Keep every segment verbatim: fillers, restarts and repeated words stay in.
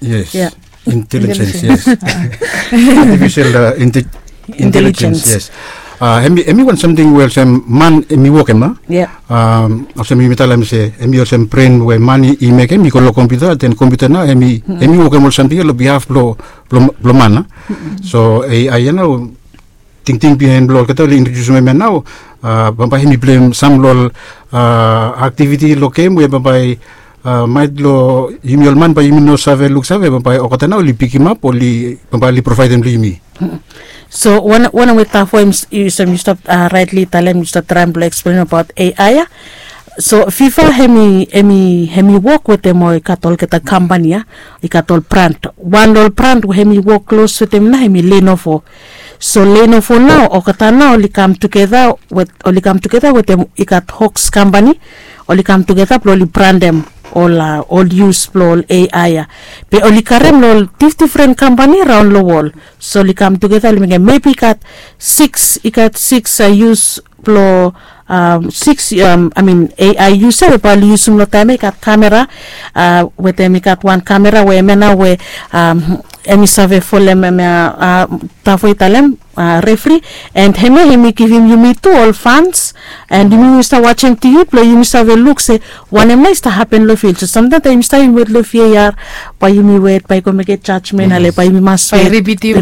Yes. Intelligence, yes. Artificial intelligence, yes. Em i wan samting we olsem man em i wokem a. Olsem yumi talem se em i olsem bren we man i mekem i go long kompiuta, den kompiuta nao em i wokem ol samting ya long bihaf blong man a. So ai ya nao tingting bihain blong olgeta oli introdiusim em ya nao, bambae hem i pleim sam long ol aktiviti long gem we bambae maet long yumi ol man bae yumi no save luksave, bambae olgeta nao oli pikimap, oli bambae oli provaedem long yumi. So wanem we tafo em yu stap raetli talem, yu stap traem blong eksplenem abaot ai ya. So fifa hem i wok wetem ol i gat olgeta kampani ya, i gat ol brand. Wan long ol brand we hem i wok klos wetem nao hem i lenovo. So lenovo nao olgeta nao oli kam tugeta wetem i gat hoks kampani, oli kam tugeta blong oli brandem ol ol yus blong ol ai ya. Be oli karem long ol difdifren kampani raon long wol. So oli kam tugeta oli mekem mebi i gat siks i gat siks yus blong siks ai yus ya we bae oli yusum long taem ya i gat kamera. Wetem i gat wan kamera we em ya nao we em i save folem em ya, tafo i talem, refri. And hem ya hem i givim yumi tu ol fans, and yumi stap wajem tivi blong yumi save luk se wanem nao i stap hapen long fil. So samtaem taem yumi stap yumi wet long viar bae yumi wet bae i go mekem jajmen ale bae yumi mas wet, ripitim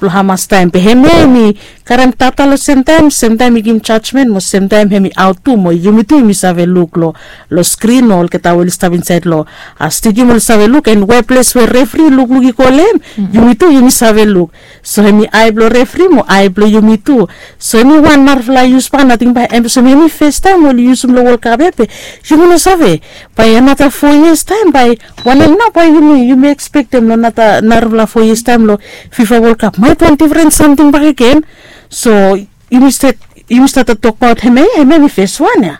blong hamas taem. Be hem ya hem i karem data long semtaem, semtaem i givim jajmen mo semtaem hem i aot tu mo yumi tu yumi save luk long skrin mo olgeta we oli stap insaed long stediam oli save luk, and weples we refri lukluk i go long hem, yumi tu yumi save luk. So hem i ai blong refri mo ai blong yumi tu. So hem i wan narafala yus baka nating bae em olsem hem i festaem oli yusum long wolkap ya be yumi no save bae anata fo yias taem bae wanem nao bae yumi yumi ekspektem long anata narafala fo yias taem long fifa wolkap maet wan difren samting bakegen. So yumi stat yumi stat tokbaot hem ya, hem ya hem i feswan ya.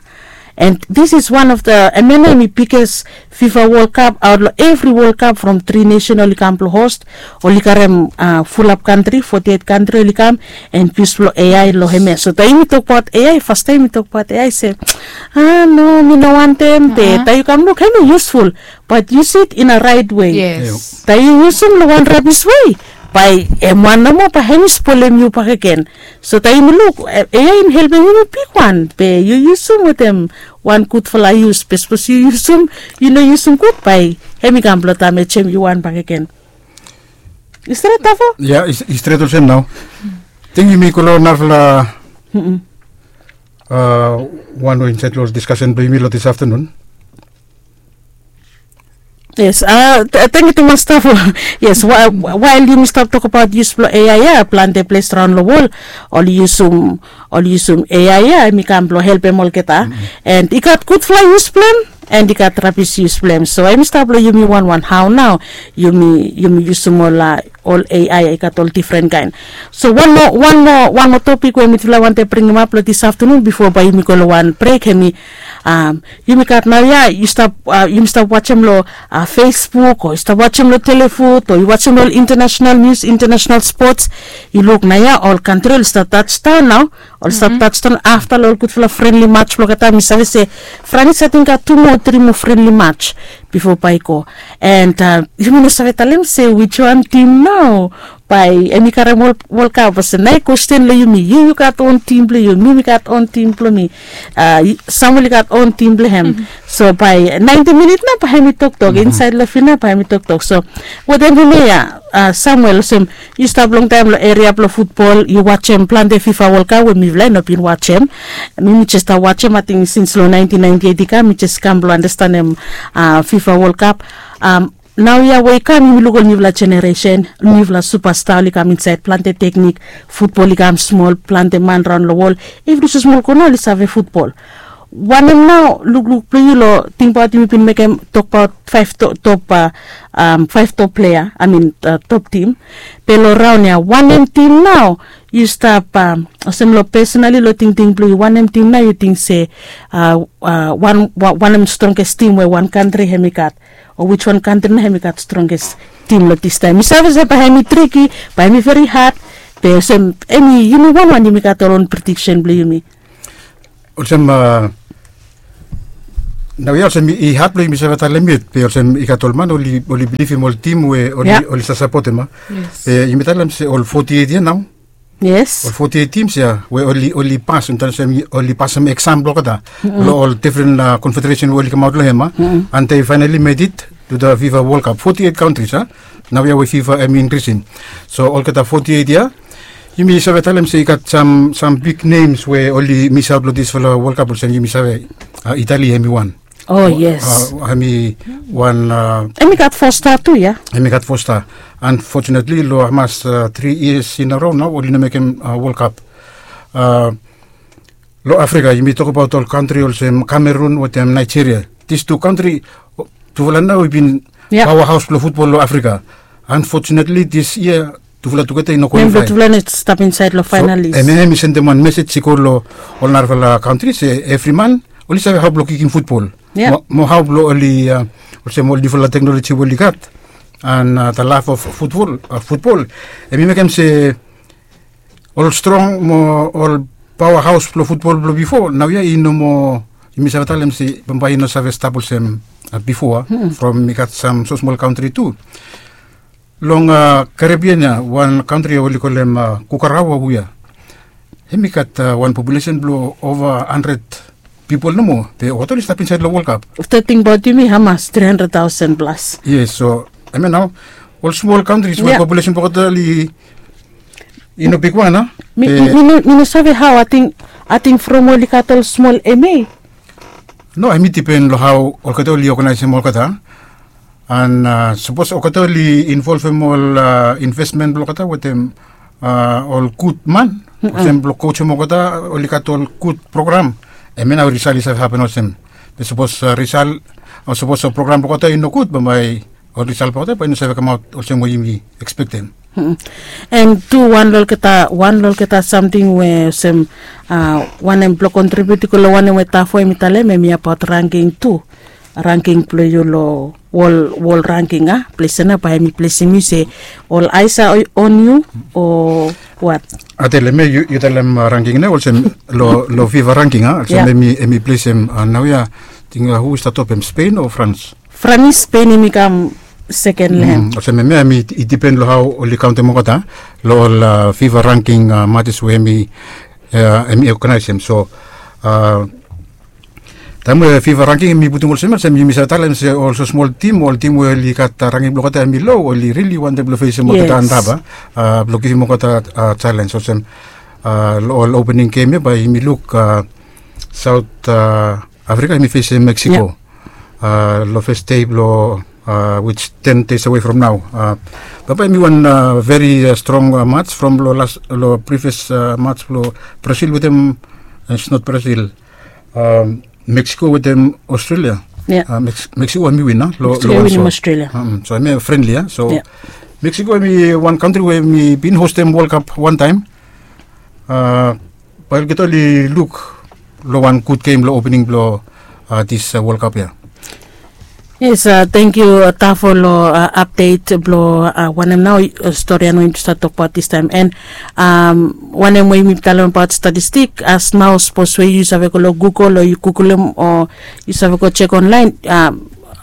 And this is one of the em ya nao hem i biges fifa wolkap aot long evri wolkap from tri nesen oli kam blong host, oli karem fulap kantri, foti et kantri oli kam. And yus blong ai long hem ya. So taem yumi tokbaot ai, fastaem yumi tokbaot ai se a no mi no wantem, be taem yu kam luk hem i yusful, bat yus it in a raet wei. Taem yu yusum long wan rabis wei, bae em wan nomo bae hem i spolem yu bakegen. So taem yumi luk ai hem i helpem yumi bigwan, be yu yusum wetem wan gudfala yus, be sapos yu yusum yu no yusum gud bae hem i kam blong damejem yu wan bakegen. I stret tafo? Ya, i stret olsem nao. Ting yumi go long narafala wan we insaed long diskasen blong yumi long dis aftanun. Yes, tangkiu tumas tafo. Yes, wael yumi stap tokbaot yus blong ai ya, plante ples raon long wol oli yusum oli yusum ai ya hem i kam blong helpem olgeta. And i gat gudfala yus blong hem, and i gat rabis yus blong hem. So hem i stap long yumi wanwan hao nao yumi yumi yusum ol ol ai ya i gat ol difren kaen. So wan moa wan moa wan moa topik we mitufala wantem bringimap long dis aftanun bifo bae yumi go long wan brek hem i yumi gat naoia yu stap yumi stap wajem long facebook o yu stap wajem long telefut o yu wajem long ol internasenal nius internasenal spots. Yu luk naoia ol kantri oli stap tajdaon nao. Oli stap tajdaon afta long ol gudfala frenli mats blong olgeta mi save se franis ating gat tu moa tri moa frenli mats bifo bae i go. And yumi no save talem se wiswan tim nao bae em i karem wolkap olsem nao i kwesten long yumi yu yu gat on tim blong yu mi mi gat on tim blong mi. Samuel i gat on tim blong hem. So bae naenti minit nao bae hem i toktok insaed long fil nao bae hem i toktok so wetem hem ya. Samuel olsem yu stap longtaem long eria blong futbol yu wajem plante fifa wolkap we mifala i no bin wajem. Mi mi jes stap wajem ating sins long naentin naenti eit i kam mi jes kam blong anastenem fifa wolkap. Naoia we i kam yumi luk ol niufala jeneresen niufala supasta oli kam insaed plante teknik futbol i kam smol plante man raon long wol. Evri so smol kona oli save futbol. Wanem nao lukluk blong yu long tingbaot yumi bin mekem tokbaot faef top faef top plea amin top tim. Be long raon ya wanem tim nao yu stap olsem long pesonali long tingting blong yu wanem tim nao yu ting se wanem stronges tim we wan kantri hem i gat o wiswan kantri nao hem i gat stronges tim long distaem mi save se bae hem i triki bae hem i veri had. Be olsem em i yumi wanwan yumi gat ol on prediksen blong yumi. Olsem a Nau ya olsem i hat blong yumi save talem yet be olsem i gat ol man oli bilivim ol tim we oli save sapotem a. Be yumi talem se ol foti eit ya nau, ol foti eit tims ya we oli pas, yumi talem se oli pasem eksam blong olgeta long ol difren konfederesen we oli kamaot long hem a. And they finally made it to the fifa world cup, foti eit kantris a. Nau ya we fifa hem i inkrisim, so olgeta foti eit ya yumi save talem se i gat sam bik nems we oli misaot long disfala world cup olsem yumi save, itali hem i wan. O yes. Hem i wan. Hem i gat fo sta tu ya. Hem i gat fo sta. Anfotunetli long hamas tri yias in a ro nau oli no mekem world cup. Long afrika yumi tokabaot ol kantri olsem kamerun wetem naejeria. Dis tu kantri tufala nau i bin paoa haos blong futbol long afrika. Anfotunetli dis yia tufala tugeta i no kwalifai. Tufala no stap insaed long faenalis. Em ya hem i sendem wan mesej i go long ol narafala kantri se evri man oli save hao blong kikim futbol mo hao blong oli olsem ol niufala teknoloji we oli gat. And the love of futbol, futbol hem i mekem se ol strong mo ol paoa haos blong futbol blong bifo nau ya i no moa. Yumi save talem se bambae i no save stap olsem bifo a. From i gat sam so smol kantri tu. Long karebian ya wan kantri ya oli kolem kukarawa wia hem i gat wan populesen blong ova handred pipol nomo be olgeta oli stap insaed long wolkap. Afta tingbaot yumi hamas tri handred taosen plas. Yes, so hem ya nao ol smol kantris we populesen blong olgeta oli i no bigwan a. Mi no save hao ating from oli gat ol smol ema. No hem i dipen long hao olgeta oli oganaesem olgeta. An sapos olgeta oli involvem ol invesmen blong olgeta wetem ol gud man olsem blong kosem olgeta oli gat ol gud program, em ya nao risal i save hapen olsem. Be sapos risal o sapos ol program blong olgeta i no gud bambae ol risal blong olgeta bae i no save kamaot olsem we yumi ekspektem. An tu wan long olgeta wan long olgeta samting we olsem wanem blong kontribiut i go long wanem we tafo hem i talem hem i abaot rangking tu. Rangking blong yu long wol wol rangking a ples ya nao bae hem i plesim yu se ol aes a on yu o wat? Atel hem ya yu talem rangking nao olsem long fifa rangking a olsem hem i plesem nao ya. Ting hu i stap top hem, spein o frans? Franis, spein hem i kam seken long hem. Olsem hem ya hem i dipen long hao oli kaontem olgeta long ol fifa rangking matis we hem i oganaesem so taem we fifa rangking hem i putum olsem ya olsem yumi save talem se ol so smol tim ol tim we oli gat rangking blong olgeta hem i lo oli rili wantem blong fesem olgeta antap a blong givim olgeta jalens olsem long ol opening gem ya bae yumi luk saot afrika hem i fesem meksiko long fes dei blong wits ten des awe from nao. Bambae hem i wan veri strong mats from long las long privias mats blong brasil wetem, its not brasil, meksiko wetem australia. Meksiko hem i win a long wan so. So hem ya frenli a so meksiko hem i wan kantri we hem i bin hostem wolkap wantaem. Bae olgeta oli luk long wan gud gem long opening blong dis wolkap ya. Yes, tangkiu tafo long apdet blong wanem nao stori ya nao yumi tu save tokbaot distaem an wanem we yumi talem abaot statistik as nao sapos we yu save go long gugol o yu gugolem o yu save go jek onlaen.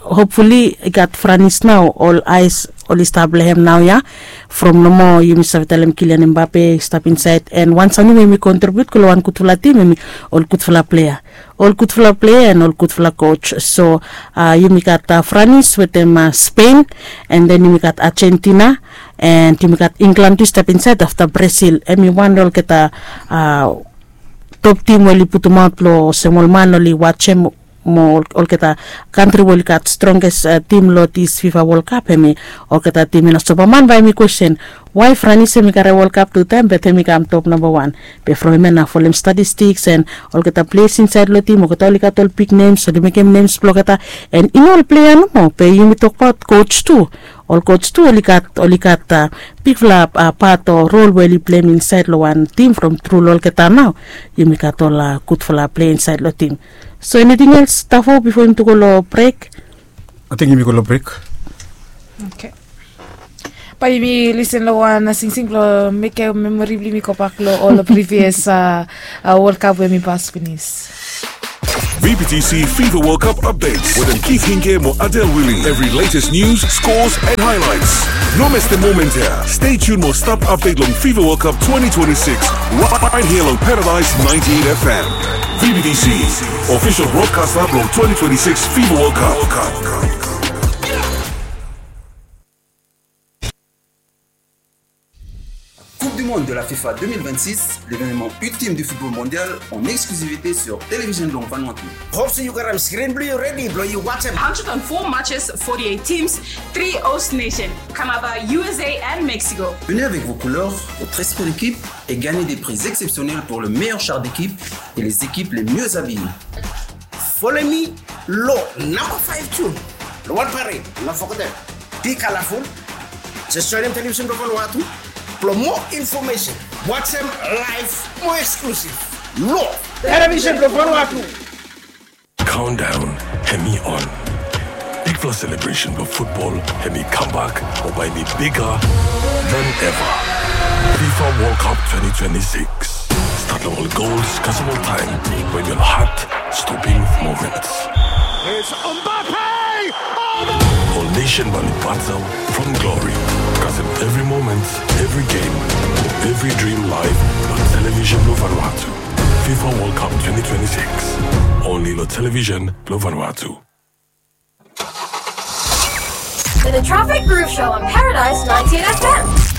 Hopfuli i gat franis nao ol aes oli stap long hem nao ya. From nomo yumi save talem kilian embape i stap insaed an wan samting we yumi kontribiut go long wan gudfala tim hem i ol gudfala plea ol gudfala plea an ol gudfala kos so yumi gat franis wetem spein an den yumi gat ajentina an yumi gat inglan tu i stap insaed afta brasil hem i wan long olgeta top tim we oli putumaot blong olsem ol man oli wajem mo olgeta kantri we oli gat strongest tim long dis fifa wolkap hem i olgeta tim i no sopa man bae hem i kwesten wae franis hem i karem wolkap tutaem bet hem i kam top nambawan. Be from hem ya nao folem statistiks an olgeta ples insaed long tim olgeta oli gat ol bik nems oli mekem nems blong olgeta an i no ol plea nomo be yumi tokbaot kos tu. Ol kos tu oli gat oli gat bigfala pat o rol we oli pleim insaed long wan tim from tru long olgeta nao yumi gat ol gudfala plea insaed long tim. So eniting els tafo bifo yumi tu go long brek? Ating yumi go long brek. Bae yumi lisen long wan singsing blong mekem memori blong yumi gobak long ol privias wolkap we mi pas pinis. V B T C FIFA World Cup updates wetem Keith Hinke mo Adel Willie. Every latest news, scores and highlights. No mes the moment here. Stay tuned mo stap update long FIFA World Cup twenty twenty-six right here on Paradise ninety-eight F M. V B T C, official broadcaster blong twenty twenty-six FIFA World Cup. Coupe du Monde de la FIFA deux mille vingt-six, l'événement ultime du football mondial en exclusivité sur Télévision Long Vanuatu. Hope se yu gat screen blong yu redi blong yu wajem. Hundred and four matches, forty-eight teams, three host nation, Canada, U S A and Mexico. Venez avec vos couleurs, votre esprit d'équipe et gagnez des prix exceptionnels pour le meilleur char d'équipe et les équipes les mieux habillées. Folem mi long namba five tu long wan parade, no fogetem. Be colorful. Just joinem Television blong Vanuatu blong moa infomesen. Wajem live mo exclusive long Television blong Vanuatu. Countdown hemi on. Bigfala celebration blong futbol hemi kambak mo bae hemi bigger than ever. FIFA World Cup twenty twenty-six. Stat long ol gols kasem oltaem, wetem ol heart-stopping moments. It's Mbappe! Oh, no! Ol nation bae oli bato from glory kasem evri moment, evri game, evri dream live long Television blong Vanuatu. FIFA World Cup twenty twenty-six. Only long Television blong Vanuatu. To the Traffic Groove Show on Paradise ninety-eight F M.